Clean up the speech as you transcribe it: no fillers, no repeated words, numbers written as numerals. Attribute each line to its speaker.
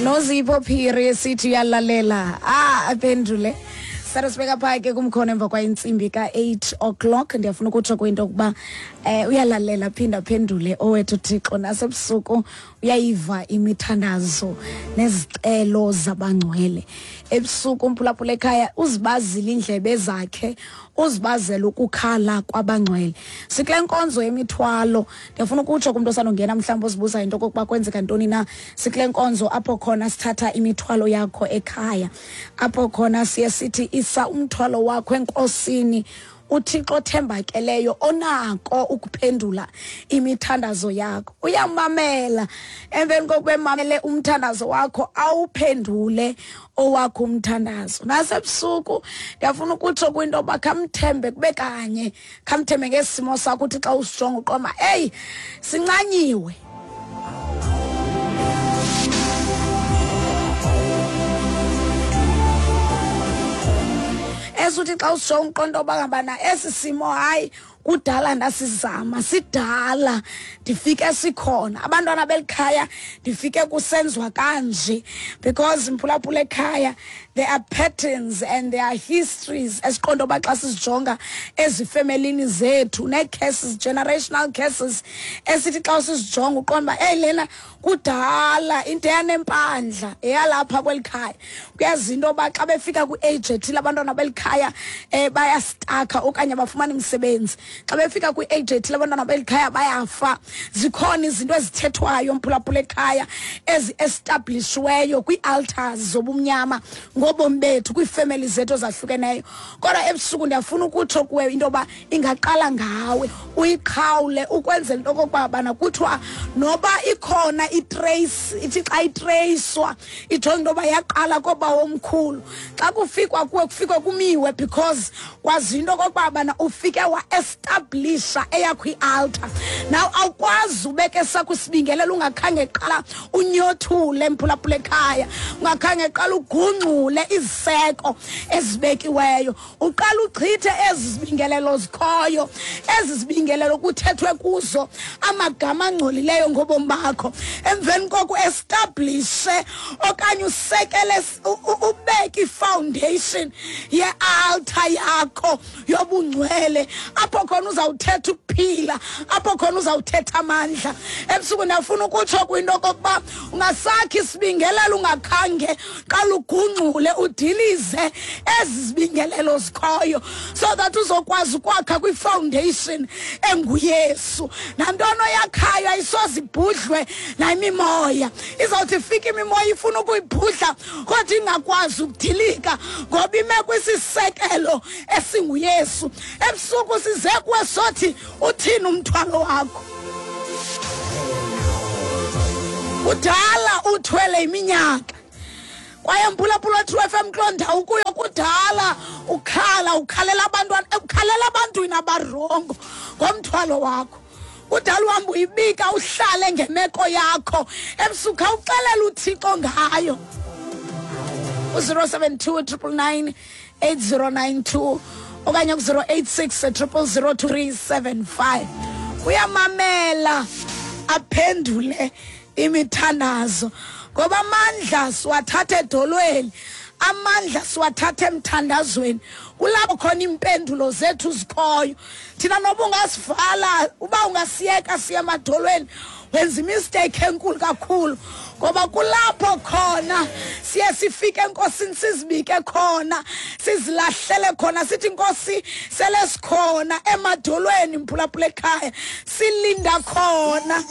Speaker 1: Nozipho Phiri sithi uyalalela. Ah, aphendule. Sara sibeka phaa ke kumkhono emva kwayintsimbi ka-8 o'clock. Ndiyafuna ukutsho kwinto yokuba uyalalela, phinda aphendule owethu Thixo. Nasebusuku uyayiva imithandazo nezicelo zabangcwele. Ebusuku umphulaphula ekhaya uzibazile iindlebe zakhe, uzibazela ukukhala kwabangcwele. Sikule nkonzo yemithwalo. Ndiyafuna ukutsho kumntu osandongena mhlawumbi ozibuza into okokuba kwenzeka ntoni na. Sikule nkonzo apho khona sithatha imithwalo yakho ekhaya, apho khona siye sithi isa umthwalo wakho enkosini, uThixo othembakeleyo onako ukuphendula imithandazo yakho. Uyamamela, emveni kokuba emamele umthandazo wakho awuphendule owakho umthandazo. Nasebusuku ndiyafuna ukutsho kwinto yoba khamthembe kube kanye, khamthembe ngesimo sakho, uthi xa usijonga uqoma, eyi, sincanyiwe. Esuthi xa usijonga uqonda uba ngabana esi simo hayi kudala ndasizama, sidala ndifike sikhona, abantwana belikhaya ndifike kusenziwa kanje, because mphulaphula ekhaya there are patterns and there are histories esiqonda uba xa sizijonga ezifemelini zethu, nee-cases, generational cases esithi xa sizijonga uqonda uba eyi lena kudala into eyanempandla eyalapha kweli khaya. Kuyazi into yoba xa befika kwi-age ethile abantwana beli khaya bayastakha okanye bafumana imisebenzi. Xa befika kwi-age ethile abantwana beli khaya bayafa. Zikhona izinto ezithethwayo mphulaphula ekhaya ezi-establishiweyo kwii-altars zobumnyama ngobomi bethu kwiifemeli zethu ezahlukeneyo. Kodwa ebusuku ndiyafuna ukutsho kuwe into yoba ingaqala ngawe, uyiqhawule ukwenzela into okokuba bana kuthiwa noba ikhona itrace, ithi xa itreyiswa ijonge into yoba yaqala koobawomkhulu. Xa kufikwa kuwe kufikwe kumiwe, because kwazi into okokuba bana ufike wa-establisha eyakho i-altar. Now awukwazi ubeke esakho isibingelelo ungakhange qala unyothule mphulaphula ekhaya, ungakhange qala ugungxule iziseko ezibekiweyo. Uqala uchithe ezi zibingelelo zikhoyo, ezi zibingelelo kuthethwe kuzo amagama angcolileyo ngobomi bakho. Emveni koko uestablishe okanye usekele, ubeke ifoundation ye-altar yakho yobungcwele, apho khona uzawuthetha ukuphila, apho khona uzawuthetha amandla. Ebusuku ndiyafuna ukutsho kwinto okokuba ungasakhi isibingelelo ungakhange qala ugungxule udilize ezi zibingelelo zikhoyo, so that uzokwazi ukwakha kwifoundation enguYesu. Nantoni oyakhayo ayisoze ibhudlwe nayimimoya. Izawuthi ifike imimoya ifuna ukuyibhudla kodwa ingakwazi ukudilika ngoba ime kwisisekelo esinguYesu. Ebusuku size kuwe sothi uthini umthwalo wakho? Kudala uthwele iminyaka, kwaye mphulaphula True FM kuloo ndawo ukuyo kudala ukhala, ukhalela abantwana, ukhalela abantwini abarongo ngomthwalo wakho. Kudala uhamba uyibika uhlale ngemeko yakho, ebusuku khawuxelela uThixo ngayo. U-zero seven two triple nine eight zero nine two okanye ku-zero eight six triple zero two three seven five. Uyamamela aphendule imithandazo, ngoba amandla siwathatha edolweni, amandla siwathatha emthandazweni. Kulapho khona iimpendulo zethu zikhoyo. Thina noba ungasivala, uba ungasiyeka siye emadolweni, wenza imisteyikhi enkulu kakhulu, ngoba kulapho khona siye sifike enkosini sizibike khona, sizilahlele khona, sithi Nkosi sele sikhona emadolweni mphulaphula ekhaya, silinda khona.